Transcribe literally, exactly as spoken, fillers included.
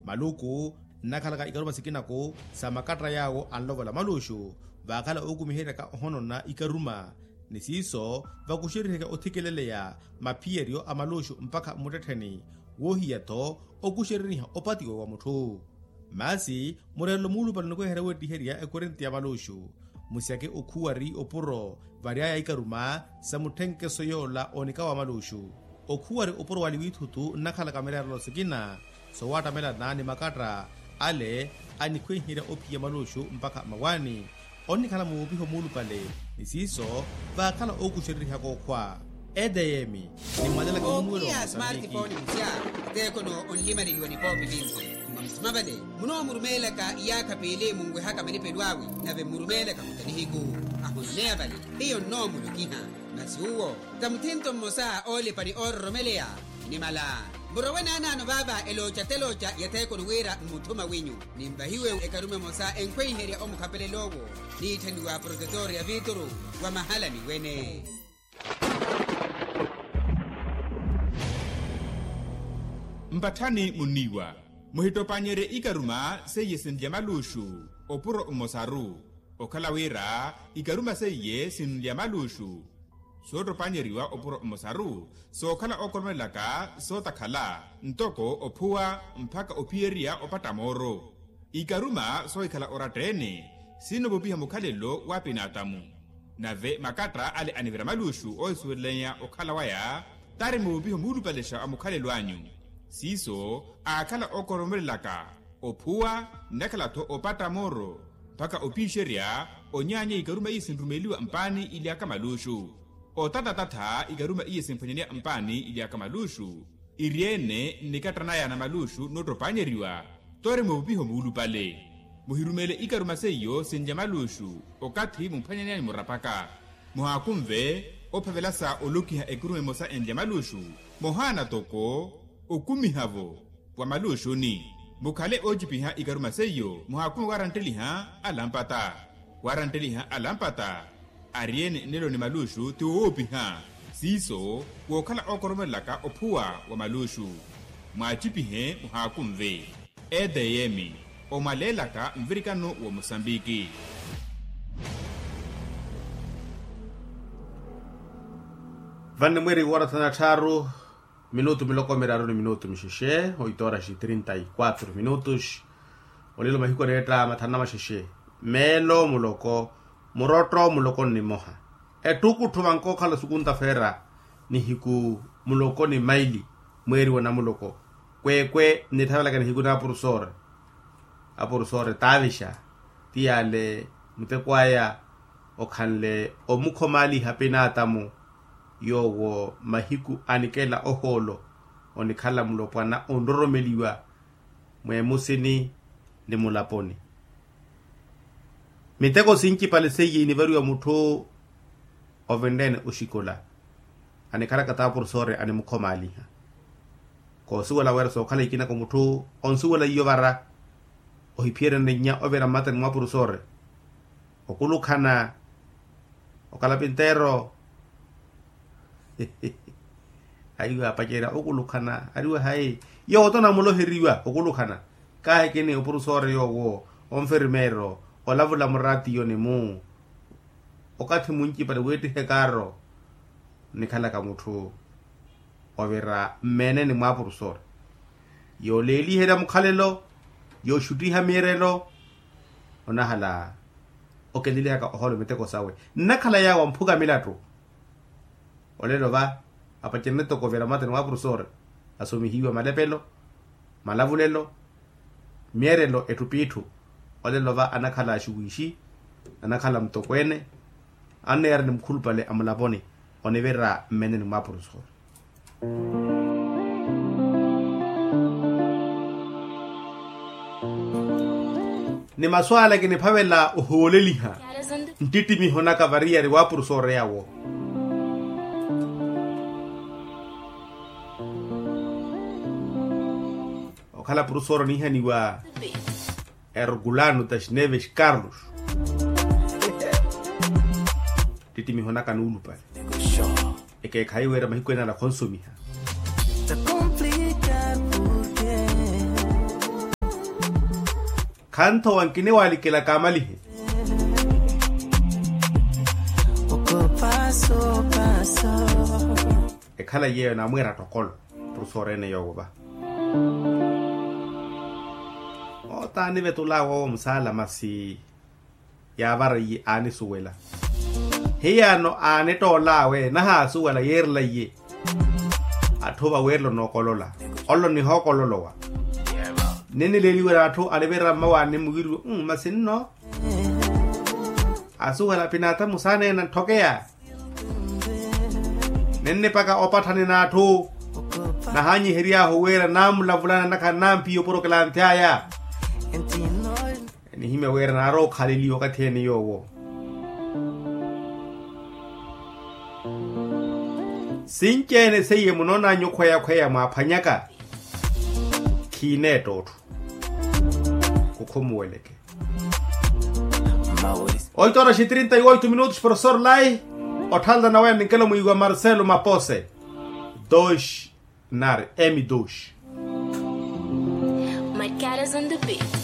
Maluku nnakhalaka ikaruma sikinaku sa makatta yaawo anlovola maluxu, vaakhala ookumiheryaka ohonona ikaruma ni siiso vakuxeriheke othikeleleya maphiyeryo a maluxu mpakha mmuttettheni woohiya-tho okuxereriha opatiwa wa mutthu. Maasi mureerelo muulupale onikoiherya weettiherya ekorinti ya maluxu, musyake okhuwari opuro vary'aya ikaruma sa mutthenkeso yoola onika wa maluxu. Okhuwari opuro wali wiithutu nnakhalaka mireerelo sikina soowattamelana ni makatta ale anikhweiherya ophiya maluxu mpakha mmawaani onnikhala muupiho muulupale ni siiso vaakhala ookuxererihaka okhwa. Edeyemi nimwanelaka munuwelo wa mosambiki. Okiya smartphone musya ateekono onlimaneliwa ni poopi vinci. Mwa musima vale munoomurumeelaka iyaakha piili munwehaka malipelo awe nave mmurumeelaka khuta nihiku ahononeya vale. Hiyo nnoomulokiha masi uwo ta muthinto mmosa oolipa ni oororomeleya. Nimala murowe naanaano vaava elooca telooca ya theekoni wira mmuthuma winyu. Ninvahiwe ekarume emosa enkhweiherya omukhapelel'owo niitthaniwa protetor ya viituru wa mahala niwene. Mpatthani munniiwa muhittopannyerye ikaruma seiye sinlya maluxu opuro mmosaru. Okhala wira ikaruma seiye sinlya maluxu soottopannyeriwa opuro mmosaru sookhala ookoromelelaka sootakhala ntoko ophuwa mpakha ophiyerya opatta mooro. Ikaruma soohikhala oratta-ene sinoovupiha mukhalelo w'apinaatamu. Nave makatta ale anivira maluxu oohisuwelelanya okhala waya tari moovupiha muulupalexa a mukhalelo anyu. Siiso aakhala ookoromelelaka ophuwa nnakhala-tho opatta mooro mpakha opiixerya onyaanya ikaruma iye sinrumeliwa mpaani ily'aka maluxu. Otatatata ikaruma iye simphwanyaneya mpaani ily'aka maluxu iri-ene nnikattanaya na maluxu noottopannyeriwa. Tori moovupiho muulupale muhirumeele ikaruma seiyo sinlya maluxu okathi mumphwanyaneya nimurapaka. Muhaakunve ophavela sa olokiha ekuruma emosa enlya maluxu mohaana toko okumiha-vo wa maluxuni. Mukhale oocipiha ikaruma seiyo muhaakunve waarantteliha alampata waarantteliha alampata. Ari-ene nnelo ni maluxu ti woopiha siiso wookhala ookoromelelaka ophuwa wa maluxu. Mwaacipihe muhaakunve. Etm omwaleelaka nvirikano wa mosambiki. Vanne mweeri woora thana tthaaru minutu miloko miraru ni minutu mixexe oito horas e trinta e quatro minutos. Olelo mahiku aneetta mathanu na maxexe meelo muloko murotto muloko nnimoha ettukutthu vankookhala sukunta feera nihiku muloko ni maili mweeri wa namuloko. Kweekwe nnitthavelaka nihiku n'apurusoore apurusoore taavixa ti yaale muteko aya okhanle omukhomaaliha pinaatamu yoowo mahiku anikela ohoolo onikhala mulopwana onroromeliwa mweemusini ni mulaponi. Miteko sincipale seiye inivariwa mutthu ovenreene oxikola anikhalaka t'apurusoore animukhomaaliha. Koosuwela wira sookhala ikinako mutthu onsuwela iyo vara ohiphiyerya nninnya ovira mmatani mwa apurusoore okulukhana okalapinteero. Aiwa apacerya okulukhana ariwa hayi yoowo tonamuloheriwa okulukhana. Kaahikini opurusoore yoowo onfirmeero olavula muraatiyo ni mu okathi muncipale weettihe kaaro nnikhalaka mutthu ovira mmeeneni mwa apurusoore yooleeliherya mukhalelo yooxuttiha miirelo. Onahala okelelihaka ohoolo miteko sawe nnakhala yaawo amphuka milattu. Olelo va apacerene toko ovira mmatani wa apurusoore asomihiwa malepelo malavulelo myeerelo etthu p'itthu. Olelo va anakhala axuwiixi anakhala mutokweene anneera ni mukhulupale a mulaponi onivira mmeeneni mwa apurusoore. Ni masu ale kiniphavela ohooleliha nttittimiho naka variyari wa apurusoore yawo. Okhala apurusoore oniihaniwa ergulano tasneves carlos. Ttittimiho naka nuulupale ekeekhayi wira mahiku ene ala khonsumiha. Khanthowa nkiniwalikela kaamalihe. Ekhala yeeyo namwiira tokolo. Profesor ene yoowo va otaani vetulaawe owo musaala masi. Yaavara iye aanisuwela. Hiyaano aanittoolaawe nahaasuwela yeerela iye. Atthu vaweerela onookolola. Ollo nihookololowa. Ninnileeliwe n'atthu anivirira mmawaani mwiiriwe masi nno. Asuwela pinaatha musaaneena ntthokeya. Ninnipaka opatthani n'atthu. Nahaanyihery'ahu wira naamulavulana nakhala nampiya oporokelanthi aya. Enihimya wira naarowa okhaleliwa okathi ene yoowo. Sinci-ene seiye munoonanyu okhweya-khweya mwaaphwanyaka. Khiineetta otthu. Khukhumuweleke. Oito horas e trinta e oito minutos profesor lai. Otthalana waya ninkelo mwiiwa marcelo mapose. Dos nari m dos. My cat is on the beat.